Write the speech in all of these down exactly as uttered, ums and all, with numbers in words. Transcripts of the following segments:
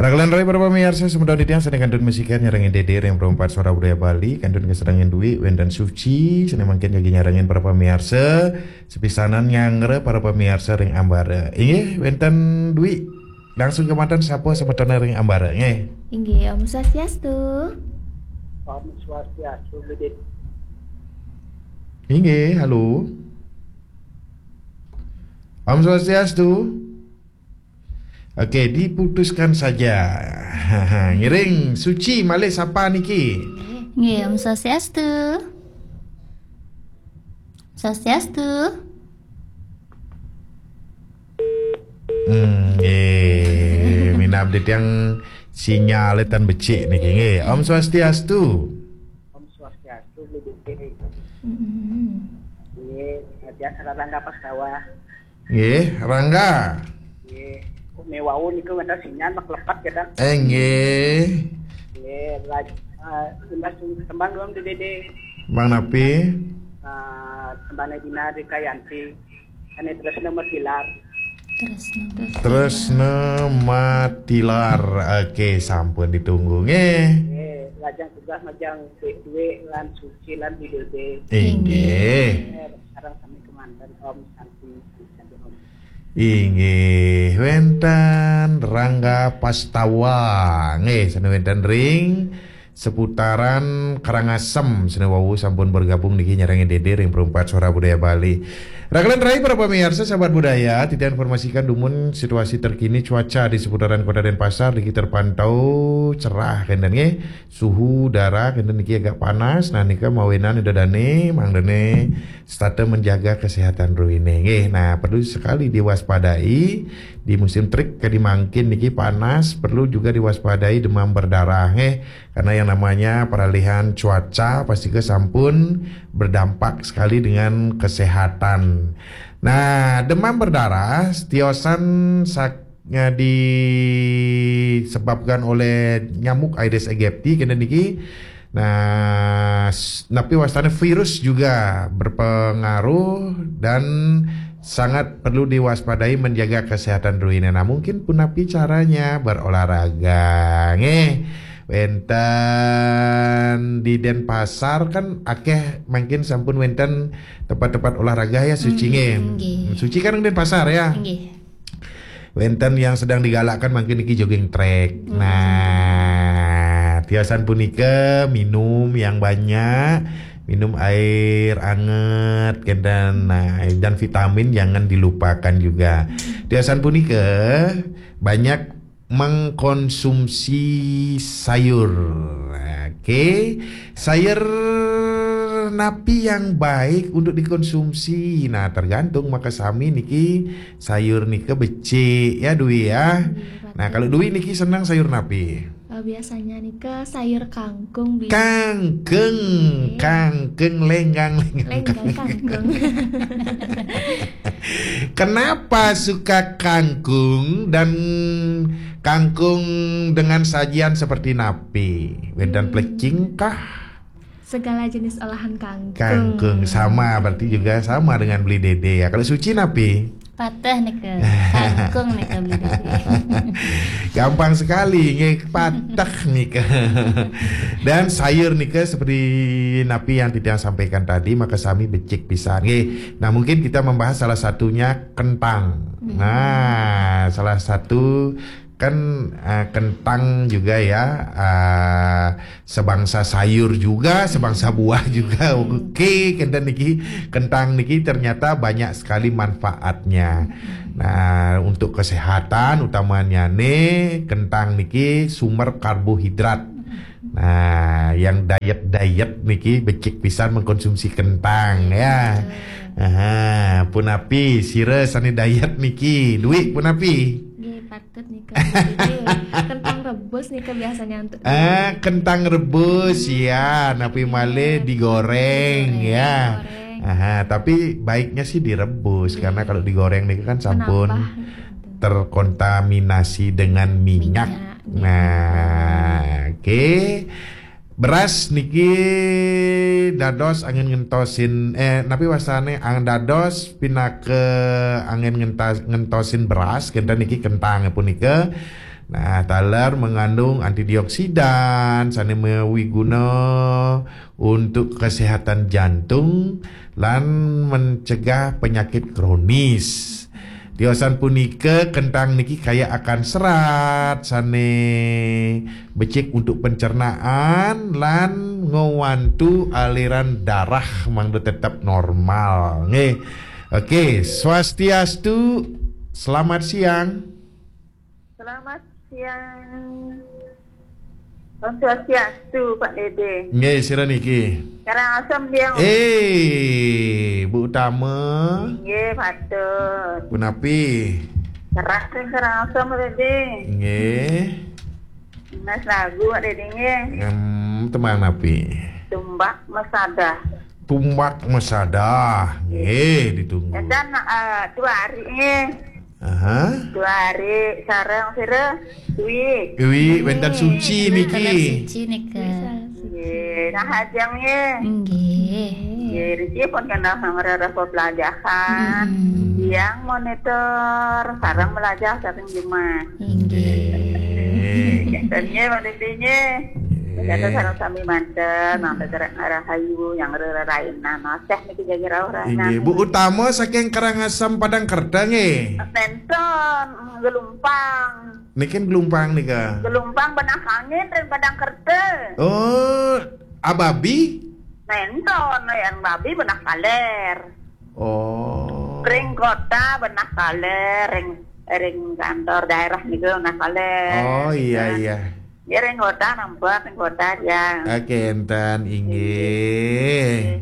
Ragelen rai para pamiarsa, semeton titiang sane kantun masikian nyarengin Dede ring Perumpat Suara Budaya Bali, kantun kasarengan Dwi, wenten Suci, sane mangkin jagi nyarengin para pamiarsa, sepisanan nyanggra para pamiarsa ring ambara. Inggih, wenten Dwi, langsung kemanten sapa semetone ring ambara, nggih. Inggih, Om Swastiastu. Om Swastiastu, Bidit. Inggih, halo. Om Swastiastu. Oke, diputuskan saja. Ngiring, Suci malih sapa niki? Nggih, Om Swastiastu. Swastiastu. Hmm, nggih, minab titiang sinyale tan becik niki nggih. Om Swastiastu. Om Swastiastu, Bu Dede. Mm-mm. Nggih, biasa Rangga Pastawa. Nggih, Rangga. Nggih. Kok mewau niku wenten sinyal mek lepet ya, Kang? Eh, nggih. Nggih, laj-, eh, imbas tembang dong di Dede. Bang napi? Eh, tembangnya Dina Dikayanti. Ane Tresna Matilar. Tresna. Tresna Matilar. Oke, sampun ditunggu nggih. Nggih, lajeng tugas majeng Dek Dwi lan Suci lan Bidede. Inggih. Nggih, sareng sami kemanten Om Santi, Santi Om. Inggih, wenten Rangga Pastawa. Nggih, sane wenten ring seputaran Karangasem, sane wau sampun bergabung niki nyarengin Dede ring Perumpat Suara Budaya Bali. Ragelen rai para pamiarsa, sahabat budaya, titiang informasikan dumun situasi terkini cuaca di seputaran Kota Denpasar niki terpantau cerah kenten nggih. Suhu udara kenten niki agak panas, nah nika mawinan ida dane mangdane setata menjaga kesehatan ruhine nggih. Nah, perlu sekali diwaspadai di musim terik kadi mangkin niki panas, perlu juga diwaspadai demam berdarah nggih. Karena yang namanya peralihan cuaca pasti ke sampun berdampak sekali dengan kesehatan. Nah, demam berdarah tiosan sak-, ya, disebabkan oleh nyamuk Aedes aegypti kenten niki. Nah, s-, napi wastane virus juga berpengaruh dan sangat perlu diwaspadai menjaga kesehatan ruhine. Nah, mungkin punapi caranya berolahraga. Nggih. Wenten di Denpasar kan akeh mangkin sampun wenten tempat-tempat olahraga ya, Suci nggih. Mm, nggih. Suci kan Denpasar ya? Nggih. Wenten yang sedang digalakkan mangkin niki jogging track. Hmm. Nah, tiosan punika minum yang banyak, minum air anget kenten. Nah, dan vitamin jangan dilupakan juga. Hmm. Tiosan punika banyak mengkonsumsi sayur. Oke, sayur napi yang baik untuk dikonsumsi? Nah, tergantung makasami niki sayur nika becik ya, Dwi ya. Iya, nah, betul. Kalau Dwi niki senang sayur napi? Eh, biasanya nika sayur kangkung, Bi. Kangkung. Iya. Kangkung, lenggang, lenggang. Lenggang kangkung. Kenapa suka kangkung dan kangkung dengan sajian seperti napi? Wenten, hmm, plecing kah? Segala jenis olahan kangkung. Kangkung, sama, berarti juga sama dengan Beli Dede ya. Kalau Suci napi? Pateh nika. Kangkung nika, Beli Dede. Gampang sekali, nggih, pateh nika. Dan sayur nika seperti napi yang titiang sampaikan tadi, makasami becik pisan. Nggih. Nah, mungkin kita membahas salah satunya kentang. Hmm. Nah, salah satu kan, eh, kentang juga ya, eh, sebangsa sayur juga, sebangsa buah juga. Hmm. Oke, kenten niki, kentang niki ternyata banyak sekali manfaatnya. Hmm. Nah, untuk kesehatan utamanya nih, kentang niki sumber karbohidrat. Nah, yang diet-diet niki becik pisan mengkonsumsi kentang ya. Betul. Aha, punapi sira sane diet niki, Dwi punapi? Nggih, patut nika. Nggih, kentang rebus nika biasanya untuk, ah, kentang rebus, hmm, ya, napi malih digoreng, digoreng, ya. Digoreng. Aha, tapi baiknya sih direbus, karena, iya, kalau digoreng nih kan sampun, menambah, terkontaminasi dengan minyak. Minyak, iya. Nah, oke. Beras niki dados angin ngentosin, eh, napi wastane, ang dados pinaka angin ngentas-, ngentosin beras, kenten niki kentang punika. Nah, taler mengandung antioksidan, sane mawiguna untuk kesehatan jantung lan mencegah penyakit kronis. Tiosan punika, kentang niki kaya akan serat sane becik untuk pencernaan lan ngwantu aliran darah mangda tetep normal. Nggih. Oke, swastiastu. Selamat siang. Selamat siang. Om Swastiastu, Pak Dede. Nggih, sira niki. Karangasem, Biang. Eh, Bu Utama. Nggih, patut. Punapi? Keras sing Karangasem, Pak Dede. Nggih. Mas lagu, Pak Dede, nggih. Em, tembang napi? Tumbak Mesadah. Tumbak Mesadah. Nggih, ditunggu. Dan, eh, dua hari, nggih. Aha. Dua hari sareng sira, Wi. Wi, wenten Suci niki. Wenten Suci nika. Nggih, nah, ajeng nggih. Nggih. Nggih, riki pun kena ngrereh pelajahan. Mm-mm. Yang monitor sareng belajar sareng Jumat. Nggih. Nggih. Kenten nggih, Pak Dede nggih. Nggih. Kenten sareng sami manten, nang tegerek rahayu, yang rererainan, oseh niki jagi rauh rahayu. Inggih, Bu Utama saking Karangasem Padang Kerta nggih. Benton, Gelumpang. Niki Gelumpang nika. Gelumpang benah angin ring Padang Kerta. Oh, ababi? Benton, yang babi benah kaler. Oh. Ring kota benah kaler, ring, ring kantor daerah niku benah kaler. Oh, iya, iya. Ya, ring kota nampak, ring kota ya. Oke, enten inggih.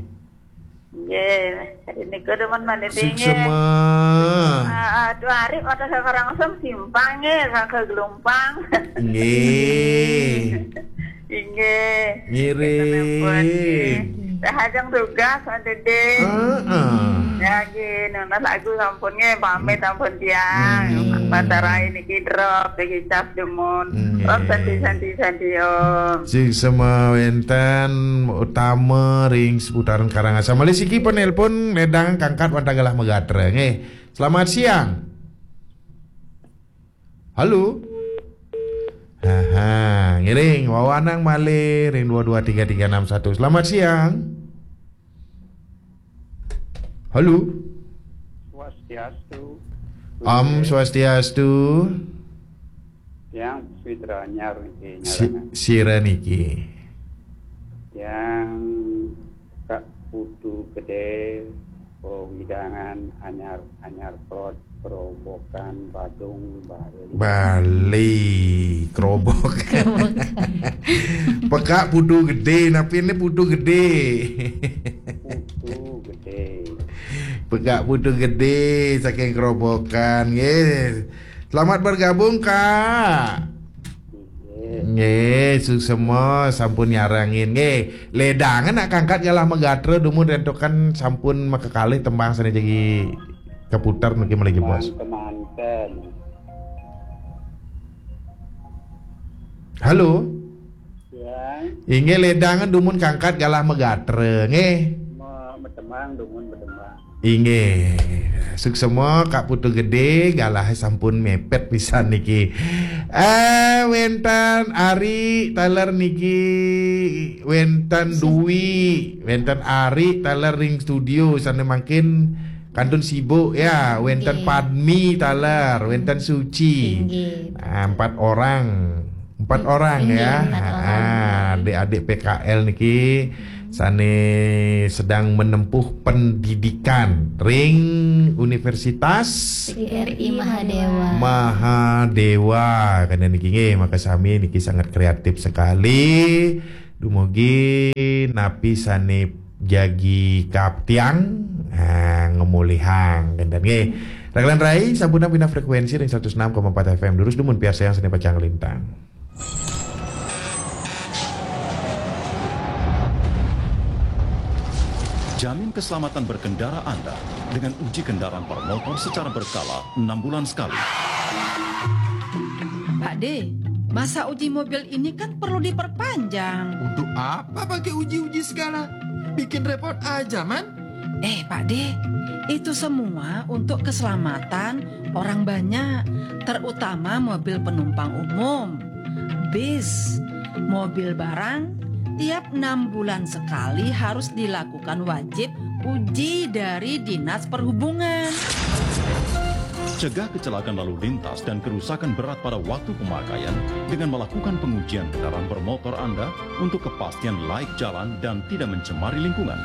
Nggih. Nggih, niku demen malih nggih. Suksema. Ah, ah, dua hari kota Karangasem simpang nggih, ke Gelumpang. Nggih. Inggih. Ngiring. Rahajeng tugas, Pak Dede. Heeh. Ya, nggih, nunas lagu sampun nggih, pamit sampun tiang. Nggih. Batara niki drop, niki cas demun. Nggih. Om Santi, Santi, Santi, Om. Sing sema wenten Utama ring seputaran Karangasem. Malih siki penelpon ledang kangkat wantah galah magatra nggih. Selamat siang. Halo. Haha, ngiring wawanang malih ring dua dua tiga tiga enam satu. Selamat siang. Halo. Swastiastu. Om Swastiastu. Yang Switra Nyar niki. Si-, nyarangan. Sira niki. Yang Kak Putu Gede, Wewidangan, Anyar, Anyar Plot, Kerobokan, Badung, Bali. Bali, Kerobokan. Kerobokan. Pekak Putu Gede, napi ne Putu Gede? Putu Gede. Pekak Putu Gede saking Kerobokan, nggih. Selamat bergabung, Kak. Nggih, suksema sampun nyarengin. Nggih, ledangan nak kangkat galah magatra dumun rentokan sampun makakalih tembang sane jagi kaputar niki malih, Bos. Kemanten. Halo. Ya. Inggih, ledangan dumun kangkat galah magatra, nggih. Me-, medemang dumun medemang. Inggih. Suksema Kak Putu Gede, galah sampun mepet pisan niki. Eh, wenten Ari taler niki, wenten Dwi, wenten Ari taler ring studio, sane mangkin kantun sibuk ya, wenten Padmi taler, wenten Suci. Inggih. Ah, empat orang. Empat orang ya. Inggih, empat orang. Ah, adik-adik P K L niki sane sedang menempuh pendidikan ring Universitas R I Mahadewa. Mahadewa, kena niki nggih, maka sami niki sangat kreatif sekali. Dumugi napi sane jagi kaptiang, ah, ngemulihang kenten nggih. Raglan rai, sampun pindah frekuensi ring seratus enam koma empat F M. Durus dumun piarsayang sane pacang lintang. Jamin keselamatan berkendara Anda dengan uji kendaraan bermotor secara berkala enam bulan sekali. Pak D, masa uji mobil ini kan perlu diperpanjang. Untuk apa pakai uji-uji segala? Bikin repot aja, Man. Eh, Pak D, itu semua untuk keselamatan orang banyak, terutama mobil penumpang umum, bis, mobil barang, tiap enam bulan sekali harus dilakukan wajib uji dari Dinas Perhubungan. Cegah kecelakaan lalu lintas dan kerusakan berat pada waktu pemakaian dengan melakukan pengujian kendaraan bermotor Anda untuk kepastian laik jalan dan tidak mencemari lingkungan.